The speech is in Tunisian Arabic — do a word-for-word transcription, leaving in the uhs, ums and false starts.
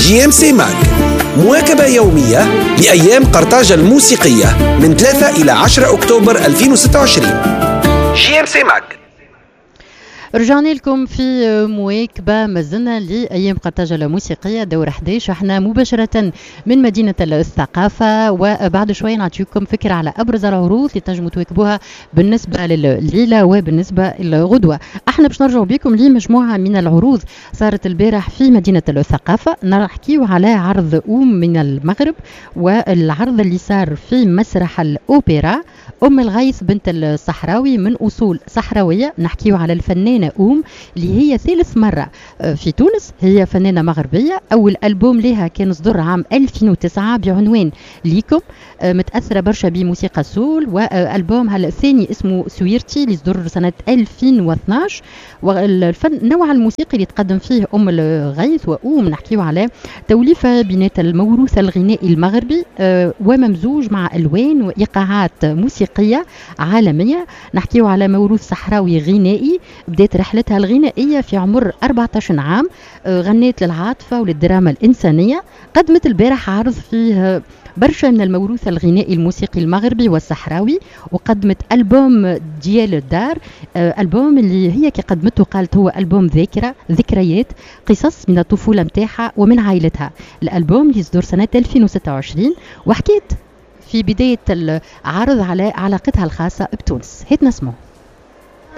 JMC Mag، مواكبة يومية لأيام قرطاج الموسيقية من ثلاثة إلى عشرة أكتوبر ألفين وستة وعشرين. JMC Mag. رجعنا لكم في مواكبة مازلنا لأيام قرطاج الموسيقية دور أحد عشر. احنا مباشرة من مدينة الثقافة، وبعد شوية نعطيكم فكرة على أبرز العروض اللي تنجموا تواكبوها بالنسبة لليلة وبالنسبة للغدوة. احنا باش نرجعوا بكم لمجموعة من العروض صارت البارح في مدينة الثقافة. نحكيو على عرض أم من المغرب والعرض اللي صار في مسرح الأوبرا، أم الغيث بنت الصحراوي من أصول صحراوية. نحكيو على الفنانة أم اللي هي ثالث مرة آه، في تونس. هي فنانة مغربية، أول ألبوم لها كان صدر عام ألفين وتسعة بعنوان ليكم، آه، متأثرة برشا بموسيقى ال soul، وألبومها الثاني اسمه سويرتي اللي صدر سنة ألفين واثناش. والفن نوع الموسيقي اللي تقدم فيه أم الغيث وأم نحكيو على توليفة بينات الموروث الغنائي المغربي آه، وممزوج مع ألوان وإيقاعات موسيقية عالمية. نحكيو على موروث صحراوي غنائي. بدأت رحلتها الغنائية في عمر أربعة عشر عام، آه، غنيت للعاطفة وللدراما الإنسانية. قدمت البارح عرض فيه برشا من الموروث الغنائي الموسيقي المغربي والصحراوي، وقدمت ألبوم ديال الدار، آه، ألبوم اللي هي كي قدمته قالت هو ألبوم ذاكرة، ذكريات، قصص من الطفولة متاعها ومن عائلتها. الألبوم اللي صدر سنة ألفين وستة وعشرين. وحكيت في بداية العرض على علاقتها الخاصة بتونس. هات نسمعه.